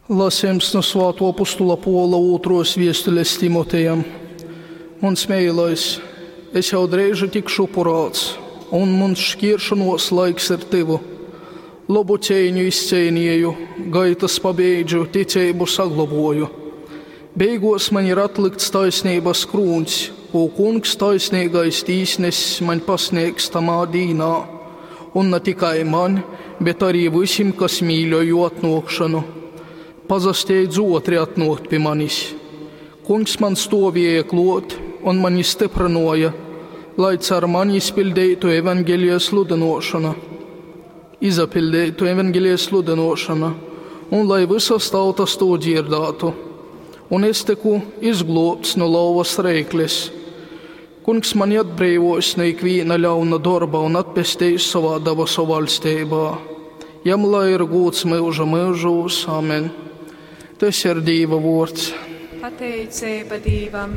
Lasejums nu Svātuo apostula Puola ūtruos viestules Timotejam. Muns meilais, es jau dreiži tikšu upurāts, un muns škieršonuos laiks ir tyvu. Lobu ceiņu izceinieju, gaitys pabeidžu, ticeibu saglobuoju. Beiguos maņ ir atlykts taisneibys krūņs, kū Kungs taisneigais tīsness maņ pasnēgs tamā dīnā. Un na tikai maņ, bet arī vysim, kas mīļoj juo atnuokšonu. Pasasteidz uotri atnuokt pi manis. Kungs man stuovieja kluot un mani styprynuoja, lai car mani izpiļdeitu evangelija sludynuošona. Izapiļdeitu evangelija sludynuošona, un lai vysas tautas tū dzierdātu. Un es tyku izgluobts nu lauvas reiklis. Kungs mani atbreivuos nu ikvīna ļauna dorba un atpesteis sovā dabasu vaļsteibā. Jam lai ir gūds myuža myužūs. Amen. Tys ir Dīva vuords. Pateiceiba Dīvam.